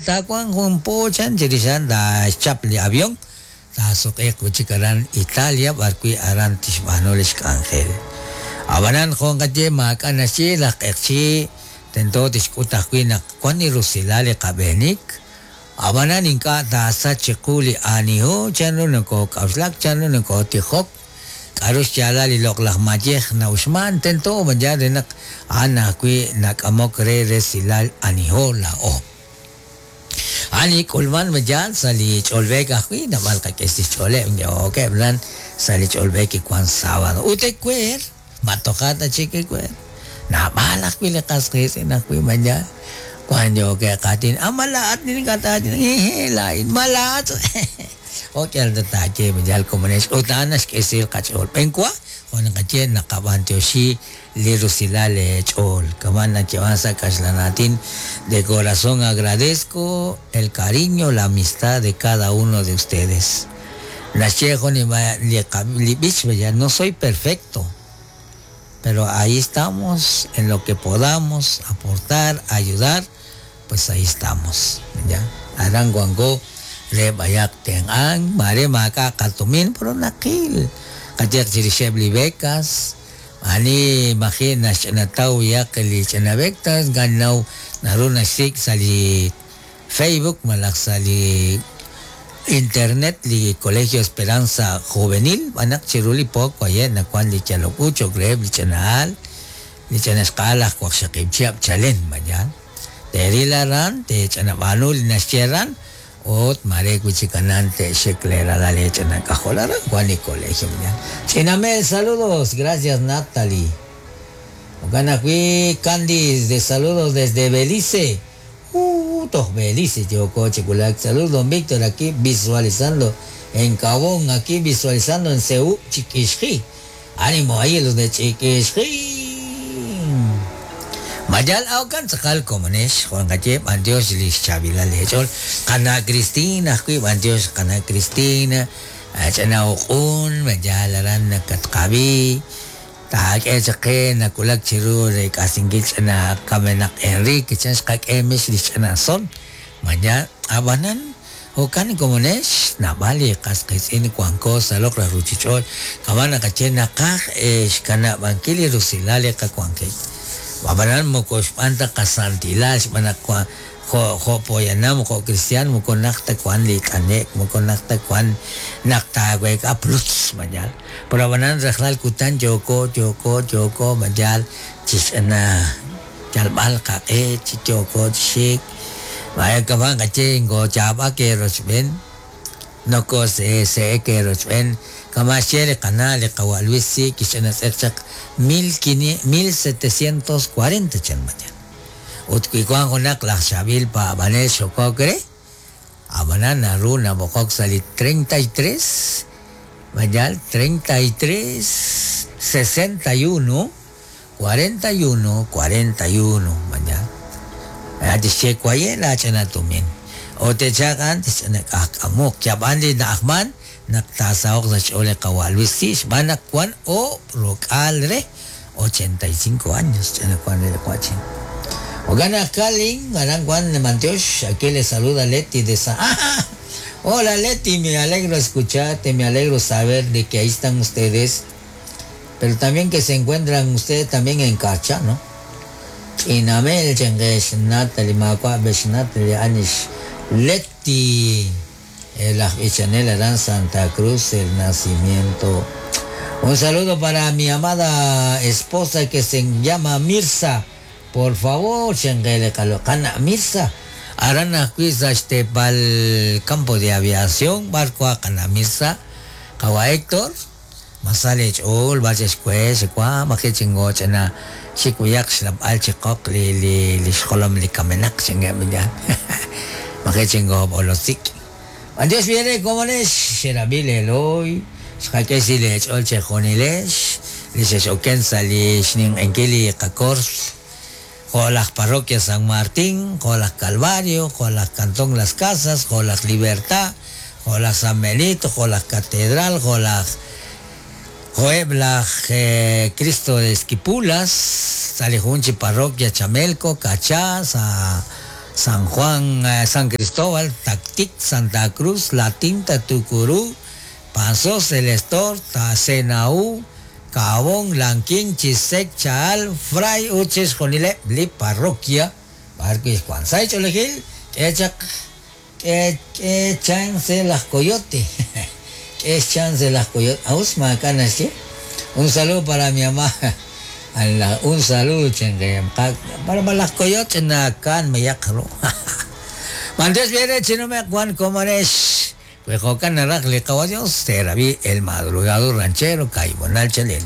Taawanq jun po chan chirix a'an taaxchap li avión taasuq'iiq wi' chik aran Italia b'arwi' aran tixb'aanu li xk'anjel. Ab'anan jo' nqaye maak'a' naxye laj q'eqchi' tento tixk'ut ajwi' naq wan li rusilal li qab'eenik, ab'anan ink'a' taasach chiqu li aniho, chanru nokook'a'uxlak, chanru nokootijok, k'aru xyaalal li loq'laj mayej na'uxman, tento b'an re naq a'an ajwi' nak'amok re resilal aniho laa'o. A'an li k'ulman yaal sa' li ch'olb'eek ajwi' naab'al qak'e xch'ooleb' yookeb' lan sa' li ch'olb'eek kiwan sábado. Ut ewer, ma toja' ta chik ewer. Naab'al ajwi' li qas qiitz'in ajwi' man yaal. Wan yookeb' qaatin, ah ma laa'at ninkataatin, laa'in, ma laa'at. Jo' yal ta taaye yaal komonex ut a'an naxk'e qach'ool. B'enwa, jo' naqaye naqab'antioxi li rusilal ch'ool. Kama nayeeman sa' kaxlan aatin, de corazón agradezco el cariño, la amistad de cada uno de ustedes. Naxye jun li b'ich ya no soy perfecto, pero ahí estamos en lo que podamos aportar, ayudar, pues ahí estamos. Ya. Aran wanko re b'ayaq tenq'ank, mare maak'a' qatumin, pero naqil. Qayehaq chirixeb' li becas, ani maji' naxch'anataw yaq li ch'ina becas, ganaw naru naxsik' sa' li Facebook malaj sa' li internet li Colegio Esperanza Juvenil, b'anaq chiru li pook waye' nawan li yalok u cho'q reheb' li ch'ina'al, li ch'inaxqa'al aj waqxaqib' chihab' chalen mañan. Teeril aran, teech'anab'aanu li naxye aran, ut mare wi' chik anan te'xik leeralal leech'inak'ajol aran wan li colegio mañan. Ch'inamel, saludos, gracias Natalie. Jo'kan ajwi' Candice, de saludos desde Belice. Toj Belice yooko chi wulak. Saludos, don Víctor, aquí visualizando en Cabón, aquí visualizando en Ceú, Chiquixji. Ánimo ahí los de Chiquixji. Mayal awkan tz'aqal komonex, Juan Galle, b'antiox li xchaab'ilal leech'ool. Qana' Cristina ajwi' b'antiox qana' Cristina, ch'ina uq'un, mayal aran nakatqab'i. Taak'e chaq qe nakulak chiru re k'asinkil ch'ina kamenaq Enrique, chan xqak'e mix li xch'ina son. Maña ab'anan jo'kan komonex naab'al li qas qiitz'in wanko sa' loq' laj ruuchich'och' kama' naqaye naqaj xkanab'ankil li rusilal li qawanjik. Ab'anan moko xb'aan ta qasantilal xb'aan naq jo' jo' poyanam jo' cristiano moko naq ta wan li t'ane'k, moko naq ta wan naq taaweek'a plutz mañal. Pero ab'anan rajlal kutan yooko yooko yooko mañal chixch'ina yalb'al qaq'e chi yooko chi xik. Vaya kama' qaye ngoochaab'ak eerochb'een, nokose'ese'ek eerochb'een, kama' xye li qana' li qawa' Luis si kixch'inatz'eq chaq 1740 chan mañan. Ut wi wan junaq laj xaab'il paab'anel xokok re, ab'anan naru nab'oqok sa' li 33, mañal 33 61 41 41 mañal. Tixye waye' laach'ina tumin. O te'chaq'an tixch'ina k'ajk'amuq. Yab'an li na'ajman naq taasaho'q sa' xch'ool li qawa' Luis si xb'aan naq wan oob' rok'aal re 85 años ch'ina wan re li wa'chin. Jo'kan naq Kalin, aran wan b'antiox, aquí le saluda Leti de San... ¡Ah! Hola Leti, me alegro escucharte, me alegro saber de que ahí están ustedes, pero también que se encuentran ustedes también en Carcha, ¿no? Ch'inamel, chengex, Natalie, Makwa, Bex, Natalie, Anish, Leti, el Chanel Arán Santa Cruz, el nacimiento. Un saludo para mi amada esposa que se llama Mirza. Por favor, chengele kalokana Mirza. Aran ajwi' sa' xteepal campo de aviación, barco a kana Mirza. Qawa Héctor, masal ch'ool, b'ar xe'xk'we, xewa, maji' chingo ch'ina xik'uyaq xlab'al chiqoq li li li xjolom li kamenaq chingeb' ya. Maji' chingo b'olosik. Adiós viene komonex, xerab'il Eloy, xqak'e si lech'ool chejunilex, li xex'oken sa' li xninq'enkil li qakors, jo' laj Parroquia San Martín, jo' laj Calvario, jo' laj Cantón Las Casas, jo' laj Libertad, jo' laj San Benito, jo' laj Catedral, jo' laj jo'eb' laj Cristo de Esquipulas, sa' li jun chi Parroquia Chamelco, Cachá, sa' San Juan, San Cristóbal, Tactic, Santa Cruz, La Tinta, Tucurú, Pasos, El Estor, Tasenaú, Kaabong, Lanquín, Chisec, Chaal, Fray ut chixjunileb' li parroquia b'arwi' xwank. Sa' xch'oolejil k'e chaq k'e k'e chance laj coyote. K'e xchance laj coyote. Aus maak'a' naxye. Un saludo para mi mamá. Un saludo chenqe. Para laj coyote nakan meyaq ru. Mantes viene chinumeq wan komonex. Wi jo'kan naraj li Qawa Dios, teerab'i El Madrugador Ranchero, Kaibonal Chalel.